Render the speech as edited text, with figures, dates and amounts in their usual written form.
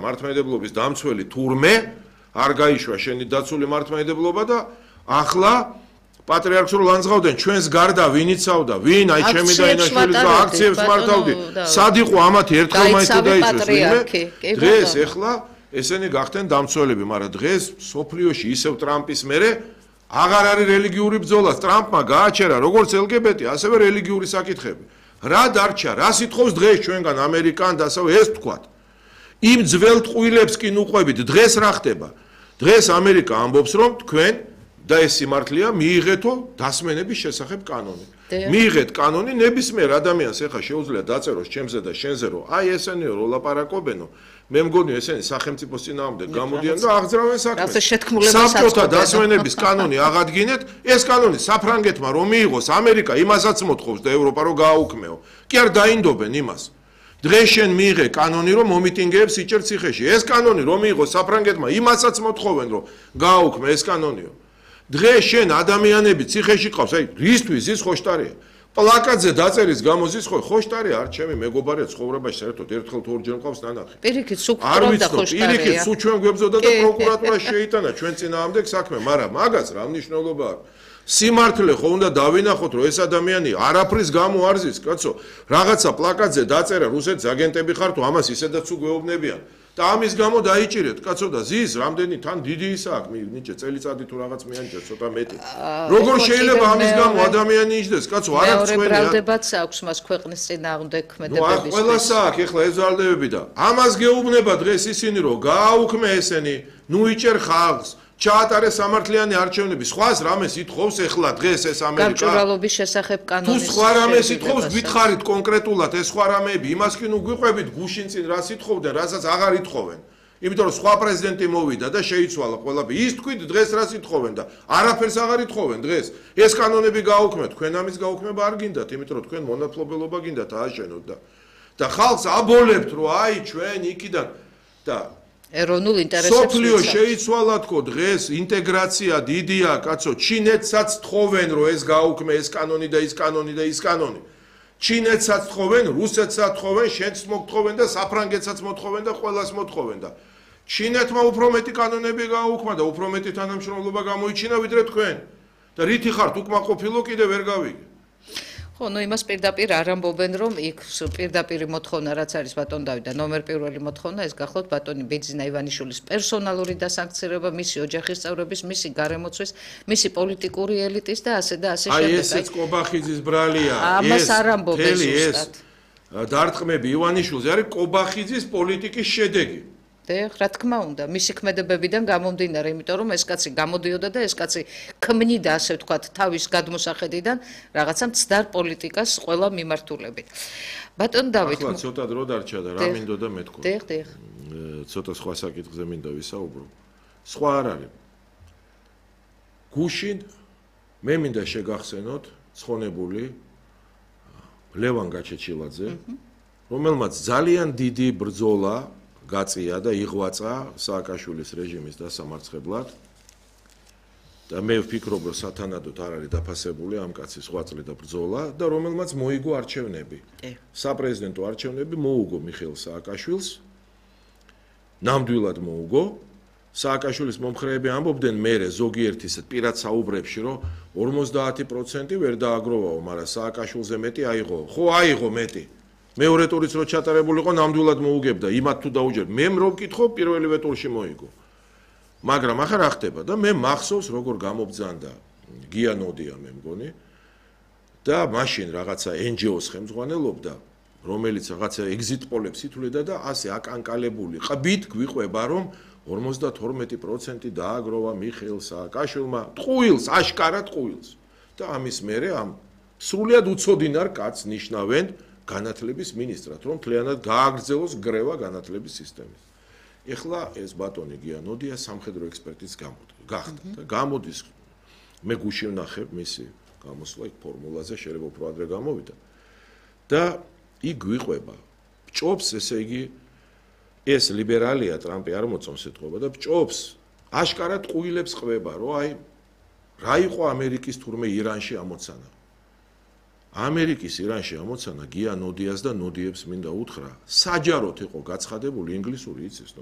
მართლმადიდებლობის დამცველი თურმე არ გაიშვა შენი დაცული მართლმადიდებლობა და ახლა პატრიარქს რო ლანძღავდნენ ჩვენს გარდა ვინ იცავდა ვინ აი ჩემი და ინაშვილის და აქციებს მართავდი სად იყო ამათი ერთხელ მაინც დაიწყეს ვინმე დღეს ეხლა ესენი გახდნენ დამცველები მაგრამ დღეს სოფლიოში ისევ ტრამპის მერე აღარ არის რელიგიური ბრძოლა ტრამპმა გააჩერა როგორც LGBT ასევე რელიგიური საკითხები რა დარჩა რა სიტყავს დღეს ჩვენგან ამერიკან და ასევე ეს თქვათ იმ ძველ ტყუილებს კი ნუყვებით დღეს რა ხდება დღეს ამერიკა ამბობს რომ თქვენ და ეს სიმართლეა მიიღეთო დასმენების შესახებ კანონი. მიიღეთ კანონი ნებისმიერ ადამიანს ეხა შეუძლია დაწეროს ჩემზე და შენზე რომ აი ესენიო რო ლაპარაკობენო მე მგონი ესენი სახელმწიფოს წინააღმდეგ გამოდიან და აღძრავენ საქმეს. საბჭოთა დასმენების კანონი აღადგინეთ ეს კანონი საფრანგეთმა რომ მიიღოს ამერიკა იმასაც მოთხოვს და ევროპა რომ გააუქმეო. კი არ დაინდობენ იმას. დღეს შენ მიიღე კანონი რომ მომიტინგეებს იჭერ ციხეში. ეს კანონი რომ მიიღოს საფრანგეთმა იმასაც მოთხოვენ რომ გააუქმე ეს კანონიო. დღეს შენ ადამიანები ციხეში ყავს, აი რისთვის ის ხოშტარია. პლაკატზე დაწერის გამო ის ხოშტარია, არ ჩემი მეგობარია ცხოვრებაში საერთოდ ერთხელ თუ ორჯერ ყავს ნანახი. პირიქით სუკრობდა ხოშტარია. პირიქით სულ ჩვენ გვებზოდა და პროკურატურა შეიტანა ჩვენ წინააღმდეგ საქმე, მაგრამ მაგას რა მნიშვნელობა აქვს? სიმართლე ხო უნდა დავინახოთ რომ ეს ადამიანი არაფრის გამო არ ზის, კაცო, რაღაცა პლაკატზე დაწერა რუსეთის აგენტები ხარ თუ ამას ისედაც უგეუბნებიან. და ამის გამო დაიჭირეთ, კაცო და ზის რამდენი თან დიდი ისა აქვს, ნიჭე წელიწადი თუ რაღაც მეანჭეს ცოტა მეტი. როგორ შეიძლება ამის გამო ადამიანი იჯდეს, კაცო, არ აქვს წვენი. ბრალდებაც აქვს მას ქვეყნის წინააღმდეგ ქმედებების. ყველას აქვს ეხლა ეს ბრალდებები და ამას გეუბნება დღეს ისინი რომ გააუქმე ესენი, ნუ იჭერ ხალხს. ჩაატარეს სამართლიანი არჩევნები. სხვას რამეს ითხოვს ეხლა დღეს ეს ამერიკა? გამჭვირვალობის შესახებ კანონის. თუ სხვა რამეს ითხოვს, გითხარით კონკრეტულად ეს სხვა რამეები, იმას კი ნუ გვიყვებით გუშინ წინ რას ითხოვდნენ, რასაც აღარ ითხოვენ. იმიტომ რომ სხვა პრეზიდენტი მოვიდა და შეიცვალა ყველაფერი. ის თქვით დღეს რას ითხოვენ და არაფერს აღარ ითხოვენ დღეს. ეს კანონები გააუქმეთ, თქვენ ამის გაუქმება არ გინდათ, იმიტომ რომ თქვენ მონათლობელობა გინდათ ააშენოთ და ხალხს აბოლებთ რომ აი ჩვენ იქიდან და ეროვნულ ინტერესებს სოფლიო შეიცვალა თქო დღეს ინტეგრაცია დიდია კაცო ჩინეთსაც თხოვენ რომ ეს გაუქმე ეს კანონი და ის კანონი და ის კანონი ჩინეთსაც თხოვენ რუსეთსაც თხოვენ შენც მოგთხოვენ და საფრანგეთსაც მოთხოვენ და ყველას მოთხოვენ და ჩინეთმა უფრო მეტი კანონები გააუქმა და უფრო მეტი თანამშრომლობა გამოიჩინა ვიდრე თქვენ და რითი ხართ უკმაყოფილო კიდე ვერ გავიგე ხო, ნუ იმას პირდაპირ არ ამბობენ, რომ იქ პირდაპირი მოთხოვნა რაც არის ბატონ დავით და ნომერ პირველი მოთხოვნა ეს გახლავთ ბატონი ბიძინა ივანიშვილის პერსონალური დასანქცირება, მისი ოჯახის წევრების, მისი გარემოცვის, მისი პოლიტიკური ელიტის და ასე შემდეგ. აი ესეც კობახიძის ბრალია. ამას არ ამბობენ ზუსტად. დარტყმები ივანიშვილზე არის კობახიძის პოლიტიკის შედეგი. რა თქმა უნდა, მისი ქმედებებიდან გამომდინარე, იმიტომ რომ ეს კაცი გამოდიოდა და ეს კაცი ქმნიდა, ასე ვთქვათ, თავის გადმოსახედიდან რაღაცა მცდარ პოლიტიკას ყველა მიმართულებით. ბატონ დავით, ახლა ცოტა დრო დარჩა და რა მინდოდა მეთქვა. დიახ. ცოტა სხვა საკითხზე მინდა ვისაუბრო. სხვა არ არის. გუშინ მე მინდა შეგახსენოთ ცხონებული ლევან გაჩეჩილაძე, რომელმაც ძალიან დიდი ბრძოლა გაწია და იღვაცა სააკაშვილის რეჟიმის დასამარცხებლად და მე ვფიქრობ რომ სათანადოდ არ არის დაფასებული ამ კაცის ღვაწლი და ბრძოლა და რომელმაც მოიგო არჩევნები. საპრეზიდენტო არჩევნები მოუგო მიხეილ სააკაშვილს. ნამდვილად მოუგო. სააკაშვილის მომხრეები ამბობდნენ მერე ზოგიერთი პირად საუბრებში რომ 50% ვერ დააგროვაო, მაგრამ სააკაშვილზე მეტი აიღო. ხო აიღო მეტი. მეორე ტურიც რო ჩატარებულიყო ნამდვილად მოუგებდა იმათ თუ დაუჯერ მე რო ვკითხო პირველივე ტურში მოიგო მაგრამ ახლა რა ხდება და მე მახსოვს როგორ გამობძანდა გია ნოდია მე მგონი და მაშინ რაღაცა NGO-ს ხელმძღვანელობდა რომელიც რაღაცა exit polls ითვლიდა და ასე აკანკალებული ყბით გვიყვება რომ 52% დააგროვა მიხეილ სააკაშვილმა ტყუილს აშკარად ტყუილს და ამის მერე ამ სრულიად უცოდინარ კაცს ნიშნავენ განათლების მინისტრად, რომ მთლიანად გააგრძელოს გრევა განათლების სისტემის. ეხლა ეს ბატონი გიანოდია სამხედრო ექსპერტის გახდა და გამოდის მე გუშინ ვნახებ მისი გამოსვლა იქ ფორმულაზე შეიძლება უფრო ადრე გამოვიდა და იქ გვიყვება ბჭობს ესე იგი ეს ლიბერალია ტრამპი არ მოწონს ეთქობა და ბჭობს აშკარად ყუილებს ყვება რომ აი რა იყო ამერიკის თურმე ირანში ამოცანა ამერიკის ირანში ამოცანა გია ნოდიას და ნოდიებს მინდა უთხრა საჯაროდ იყო გაცხადებული ინგლისური იცის